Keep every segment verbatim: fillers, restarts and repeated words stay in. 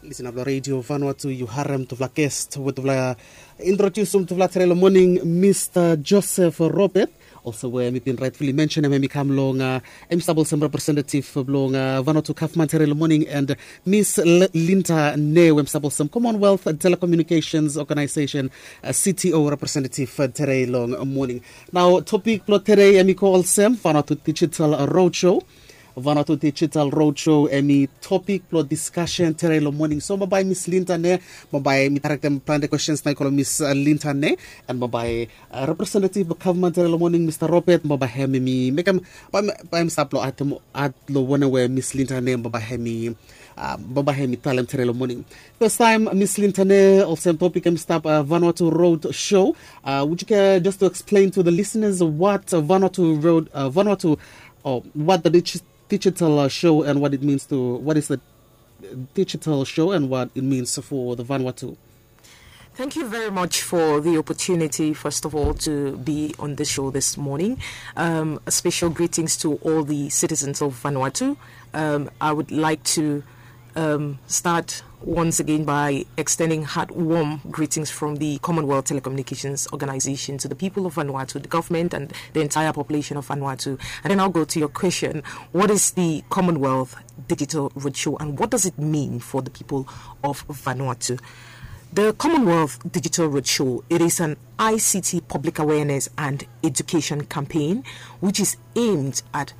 Lisin ap long redio Vanuatu, yu harem tufala guest we tufala introdusim tufala tere long moning, Mista Joseph Robert. Also we mi bin rightfully mention em, em i kam long uh, em i stap olsem representative bilong uh, Vanuatu Kaufman tere long moning, and Miss L- Linda Ne, we em stap olsem Commonwealth Telecommunications Organization uh, C T O representative uh, tere long moning. Now topic bilong tere em i ko olsem Vanuatu Digital Roadshow. Vanuatu Digital Roadshow em i topic bilong discussion tere long moning. So bambae Miss Linda Ne, bambae mi tarektem planti questions na i kolom Miss uh, Linda Ne, and bambae uh, representative bilong government tere long moning, Mista Robert, bambae hem em i mekem bambae hem i stap long atem at long wanem we Miss Linda Ne bambae hem i uh, bambae hem i talem tere long moning. First time Miss Linda Ne, olsem topic em i stap uh, Vanuatu Road Show. Uh, would you care just to explain to the listeners what uh, Vanuatu Road, uh, Vanuatu, or what the digi- digital uh, show and what it means to, what is the digital show and what it means for the Vanuatu? Thank you very much for the opportunity, first of all, to be on the show this morning. Um, a special greetings to all the citizens of Vanuatu. Um, I would like to um, start once again by extending heartwarm greetings from the Commonwealth Telecommunications Organization to the people of Vanuatu, the government, and the entire population of Vanuatu. And then I'll go to your question: what is the Commonwealth Digital Roadshow, and what does it mean for the people of Vanuatu? The Commonwealth Digital Roadshow, it is an I C T public awareness and education campaign which is aimed at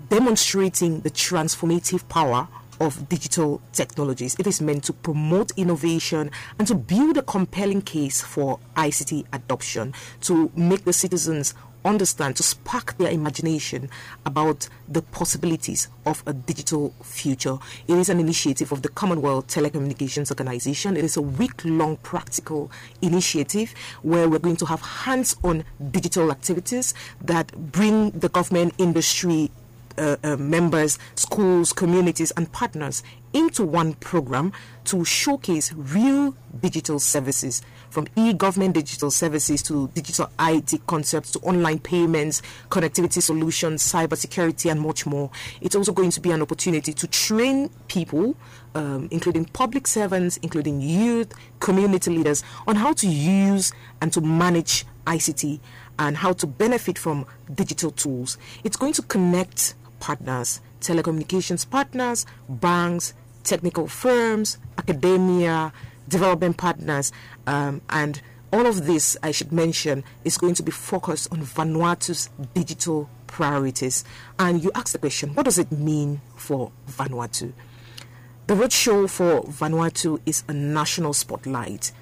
demonstrating the transformative power of digital technologies. It is meant to promote innovation and to build a compelling case for I C T adoption, to make the citizens understand, to spark their imagination about the possibilities of a digital future. It is an initiative of the Commonwealth Telecommunications Organization. It is a week long practical initiative where we're going to have hands on digital activities that bring the government, industry, uh, uh, members, schools, communities, and partners into one program to showcase real digital services, from e-government digital services to digital I T concepts to online payments, connectivity solutions, cybersecurity, and much more. It's also going to be an opportunity to train people, um, including public servants, including youth, community leaders, on how to use and to manage I C T and how to benefit from digital tools. It's going to connect partners, telecommunications partners, banks, technical firms, academia, development partners, um, and all of this, I should mention, is going to be focused on Vanuatu's digital priorities. And you asked the question, what does it mean for Vanuatu? The roadshow for Vanuatu is a national spotlight.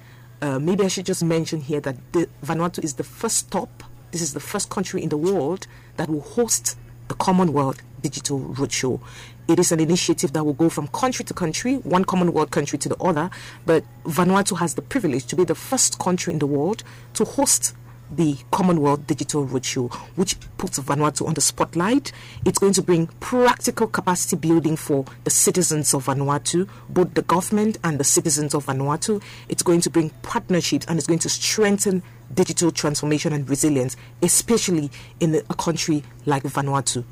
Uh, maybe I should just mention here that the, Vanuatu is the first stop, this is the first country in the world that will host the Commonwealth Digital Roadshow. It is an initiative that will go from country to country, one Commonwealth country to the other, but Vanuatu has the privilege to be the first country in the world to host the Commonwealth Digital Roadshow, which puts Vanuatu on the spotlight. It's going to bring practical capacity building for the citizens of Vanuatu, both the government and the citizens of Vanuatu. It's going to bring partnerships and it's going to strengthen digital transformation and resilience, especially in a country like Vanuatu.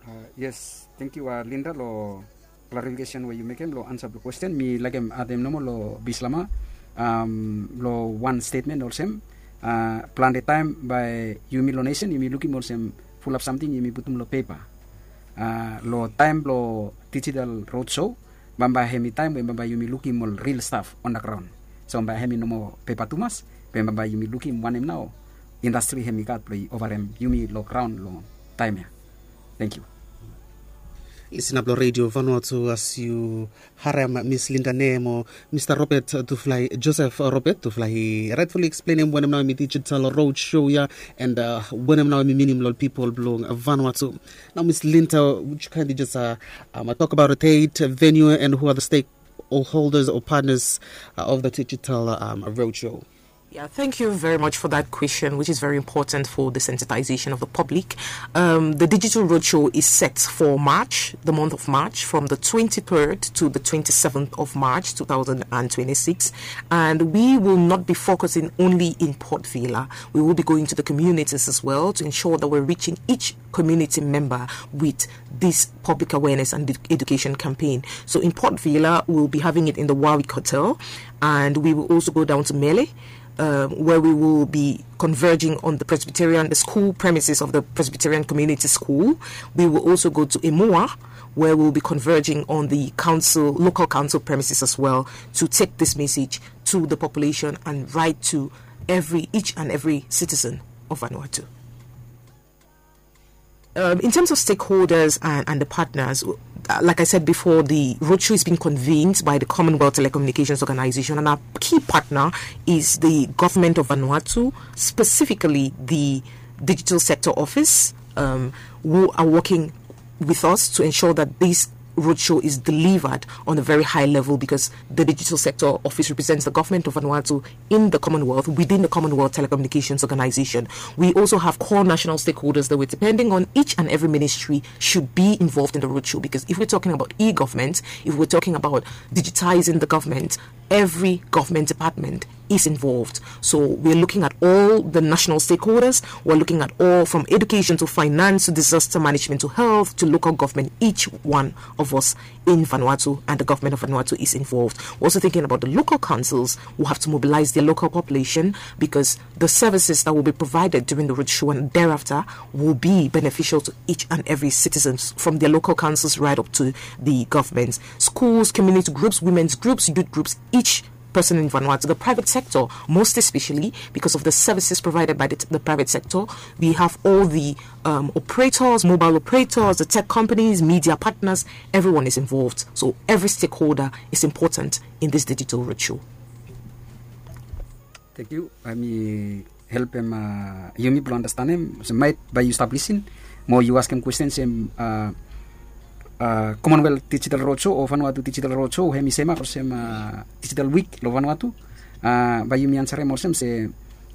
Uh, yes, thank you, uh, Linda, long clarification we yu mekem long ansa blong question. Mi laik adem nomo long Bislama, um, long wan statement olsem, uh, plante taem bae yumi long nesen yumi lukim olsem fulap samting yumi putum long pepa. Uh, long taem blong digital roadshow, bambae hemi taem we bambae yumi lukim ol real staf on the ground. So bambae hemi nomo pepa tumas, be bambae yumi lukim wanem nao indastri hemi gat blong i ovarem yumi long graon long taem ya. Thank you. Lisin ap long redio Vanuatu as yu harem Miss Linda Ne mo Mista Robert Tuflai, Joseph Robert Tuflai, i rightfully explain em wanem nao hemi digital road show ya, and uh, wanem nao hemi minim long pipol bilong Vanuatu. Now Miss Linda, would you kindly just uh, um, talk about the date, venue, and who are the stakeholders or partners uh, of the digital um, road show? Yeah, thank you very much for that question, which is very important for the sensitization of the public. Um, the digital roadshow is set for March, the month of March, from the twenty-third to the twenty-seventh of March, two thousand twenty-six. And we will not be focusing only in Port Vila. We will be going to the communities as well to ensure that we're reaching each community member with this public awareness and education campaign. So in Port Vila, we'll be having it in the Warwick Hotel, and we will also go down to Mele, um, where we will be converging on the Presbyterian, the school premises of the Presbyterian Community School. We will also go to Emua, where we'll be converging on the council, local council premises as well, to take this message to the population and right to every, each and every citizen of Vanuatu. Um, in terms of stakeholders and, and the partners, uh, like I said before, the roadshow is being convened by the Commonwealth Telecommunications Organization, and our key partner is the government of Vanuatu, specifically the Digital Sector Office, um, who are working with us to ensure that this roadshow is delivered on a very high level, because the Digital Sector Office represents the government of Vanuatu in the Commonwealth, within the Commonwealth Telecommunications Organization. We also have core national stakeholders that we're depending on. Each and every ministry should be involved in the roadshow, because if we're talking about e-government, if we're talking about digitizing the government, every government department is involved. So we're looking at all the national stakeholders. We're looking at all, from education to finance to disaster management to health to local government. Each one of us in Vanuatu and the government of Vanuatu is involved. We're also thinking about the local councils who have to mobilize their local population, because the services that will be provided during the roadshow and thereafter will be beneficial to each and every citizens, from their local councils right up to the government. Schools, community groups, women's groups, youth groups, each person in Vanuatu, the private sector, most especially because of the services provided by the, the private sector. We have all the, um, operators, mobile operators, the tech companies, media partners, everyone is involved. So every stakeholder is important in this digital roadshow. Thank you. Hemi helpem, uh, yumi blong andastanem olsem maet bae yu stap lisin mo yu askem kwesten se, uh, uh, Commonwealth Digital Roadshow o Vanuatu Digital Roadshow hemi semap olsem, uh, Digital Week long Vanuatu. Uh, bae yumi ansarem olsem se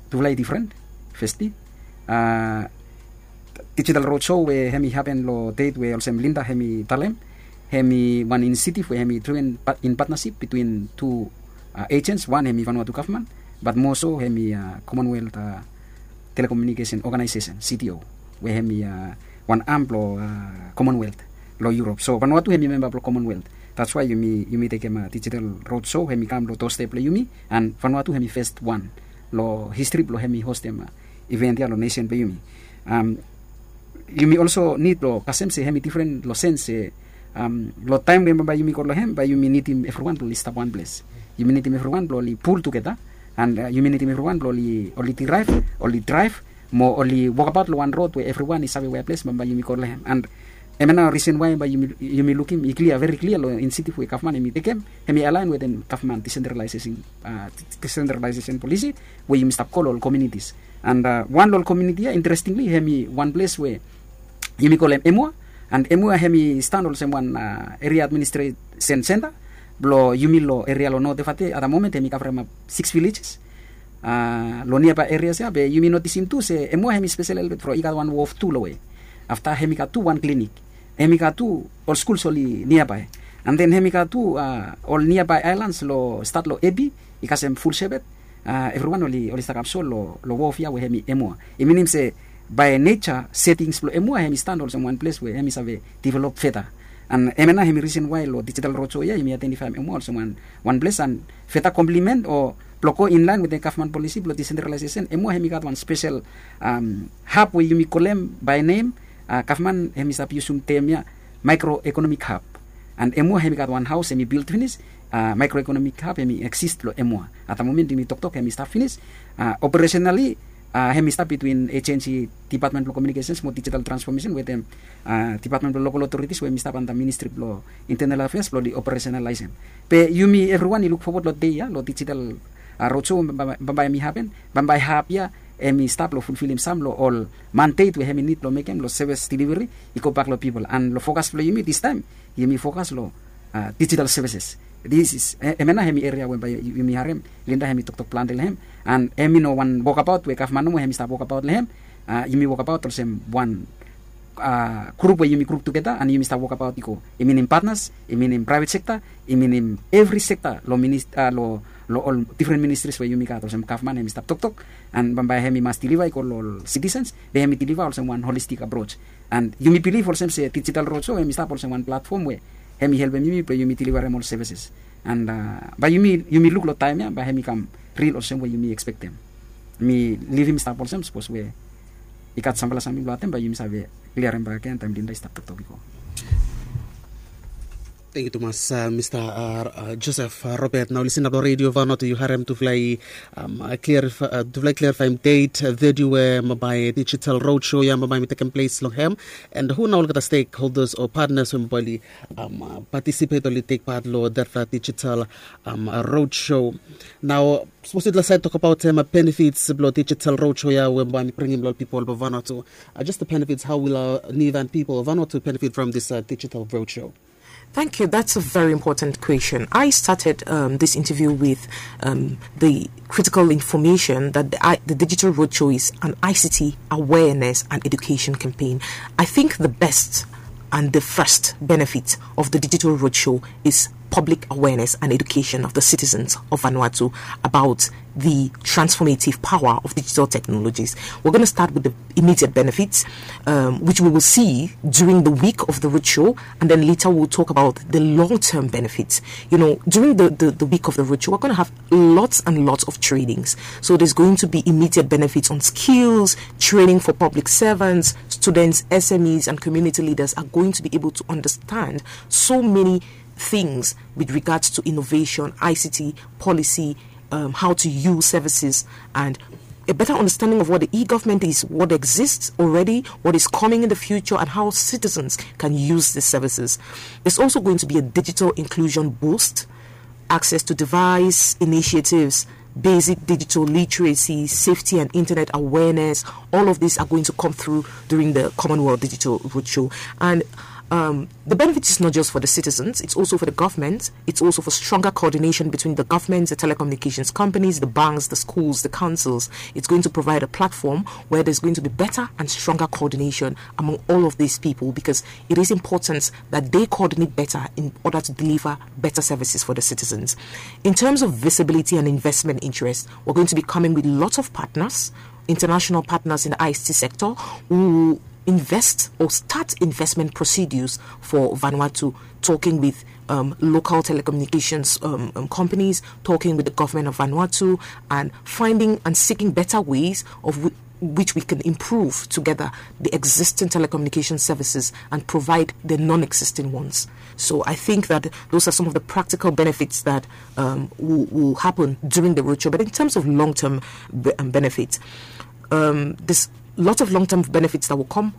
tufala i difren. Festi, uh, Digital Roadshow we hemi hapen long det we olsem Linda hemi talem, hemi wan inisiatif we hemi driven in partnership between tu, uh, agents. Wan hemi Vanuatu gavman, bat moa so hemi, uh, Commonwealth, uh, Telecommunication Organization, C T O, we hemi, uh, wan am blong, uh, Commonwealth long Europe. So Vanuatu hemi memba blong Commonwealth. That's why yumi, yumi tekem, uh, Digital Roadshow hemi kam long doorstep blong yumi, and Vanuatu hemi first wan long history blong hemi hostem, uh, event ia long nation blong yumi. Um, yumi also nid blong kasem se hemi difren long sens se, um, long taem we bambae yumi go long hem bae yumi nidim evriwan blong oli stap wan ples. Yumi nidim evriwan blong oli pul tugeta, and, uh, yumi nidim evriwan blong oli, oli diraev, oli draev mo oli wokabaot long wan rod we evriwan i save wea ples bambae yumi go long hem. And hemia nao risen wae bae yumi, yumi lukim i klia, veri klia long inisiatif we gavman hemi tekem, hemi alaen wetem gavman disentralaesesen, uh, disentralaesesen polisi we yumi stap go long ol komunitis. And, uh, wan long ol komuniti ia, interestingly, hemi wan ples we yumi kolem Emua. And Emua hemi stan olsem wan, uh, eria administresen senta blong yumi long eria long North Efate. At the moment hemi kavremap six villages, uh, long niabae erias ia. Be yumi notisim tu se Emua hemi spesel helpet from i gat wan wof tu long we. Afta hemi gat tu wan klinik, hemi gat tu ol skuls oli niabae. And then hemi gat tu, uh, ol niabae aelans long stat long Ebi, i kasem Full Shepherd. Uh, evriwan oli, oli stakap so long, long wof ia we hemi Emua. I minim se bae neja setings blong Emua hemi stan olsem wan ples we hemi save develop feta. And hemia nao hemi risen wae long Digital Roadshow ia yumi aedentifaem Emua olsem wan, wan ples, and feta komplimen o blong go inlaen wetem gavman polisi blong disentralaesesen, Emua hemi gat wan spesel, um, hab we yumi kolem bae nem, uh, gavman hemi stap yusum tem ia, microeconomic hub. And Emua hemi gat wan haos hemi bilt finis, uh, microeconomic hub hemi eksis long Emua. At the moment yumi toktok hemi stap finis. Uh, operationally, uh, hemi stap between agency, Department blong Communications mo Digital Transformation wetem, uh, Department blong Local Authorities we hemi stap anda Ministry blong Internal Affairs blong oli operationalize hem. Be yumi evriwan i luk fowod long dei ia long Digital, uh, Roadshow bambae, bambae hemi hapen. Bambae hab ia hemi stap long fulfilim sam long ol mandate we hemi nid blong mekem long service delivery i gobak long pipol. And long fokas blong yumi distaem, yumi fokas long, uh, digital services. This is, eh, hemia nao hemi eria we bae yumi harem Linda hemi toktok plante long hem. And hemi no wan wokabaot we gavman nomo hemi stap wokabaot long hem. Ah, yumi wokabaot olsem wan, ah, grup we yumi grup tugeta and yumi stap wokabaot i go. I minim patnas, i minim praevet sekta, i minim evri sekta long minis-, ah, long, long ol difren ministris we yumi gat olsem gavman hemi stap toktok. And bambae hemi mas diliva i go long ol sitisens, be hemi diliva olsem wan holistik aproj. And yumi bilif olsem se digital roadshow hemi stap olsem wan platfom we hemi helpem yumi blong yumi dilivarem ol sevises. And, ah, bae yumi, yumi luk long taem ya bae hemi kam ril olsem we yumi ekspektem. Mi livim stap olsem sapos we i gat samfala samting blong atem bae yumi save kliarem bakegen taem Linda i stap toktok i go. Tangkiu tumas, ah, Mista, ah, ah, Joseph, ah, Robert. Nao yu lisin long redio Vanuatu, yu harem tufala i, um, ah, klarif-, ah, tufala i klarifaem det, ah, venuo we, ah, bambae digital roadshow ya bambae hemi tekem ples long hem. And hu nao olgeta stakeholders o patnas we bambae oli, um, ah, patisipet, oli tek pat long detfala digital, um, ah, roadshow. Nao sapos yutufala save tokbaot, um, benefits blong digital roadshow ya we bambae hemi bringim long ol pipol blong Vanuatu. Ah, just the benefits, how will our Niuean people of Vanuatu benefit from this, uh, digital roadshow? Thank you. That's a very important question. I started, um, this interview with, um, the critical information that the, I, the digital roadshow is an I C T awareness and education campaign. I think the best and the first benefit of the digital roadshow is public awareness and education of the citizens of Vanuatu about the transformative power of digital technologies. We're gonna start with the immediate benefits, um, which we will see during the week of the roadshow, and then later we'll talk about the long-term benefits. You know, during the, the, the week of the roadshow, we're gonna have lots and lots of trainings. So there's going to be immediate benefits on skills, training for public servants, students, S M Es, and community leaders are going to be able to understand so many things with regards to innovation, I C T, policy, um, how to use services, and a better understanding of what the e-government is, what exists already, what is coming in the future, and how citizens can use the services. There's also going to be a digital inclusion boost, access to device initiatives, basic digital literacy, safety and internet awareness. All of these are going to come through during the Commonwealth Digital Roadshow. And, um, the benefit is not just for the citizens, it's also for the government, it's also for stronger coordination between the government, the telecommunications companies, the banks, the schools, the councils. It's going to provide a platform where there's going to be better and stronger coordination among all of these people, because it is important that they coordinate better in order to deliver better services for the citizens. In terms of visibility and investment interest, we're going to be coming with lots of partners, international partners in the I C T sector who invest or start investment procedures for Vanuatu, talking with, um, local telecommunications, um, um, companies, talking with the government of Vanuatu, and finding and seeking better ways of whi-, which we can improve together the existing telecommunication services and provide the non-existing ones. So I think that those are some of the practical benefits that, um, will, will happen during the roadshow. But in terms of long-term be-, um, benefits, um, there's lots of long-term benefits that will come.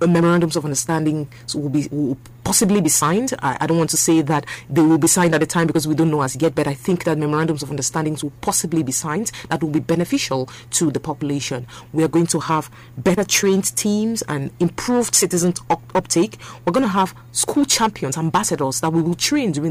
Uh, memorandums of understanding will be, will possibly be signed. I, I don't want to say that they will be signed at the time because we don't know as yet, but I think that memorandums of understandings will possibly be signed that will be beneficial to the population. We are going to have better trained teams and improved citizen up-, uptake. We're gonna have school champions, ambassadors that we will train during the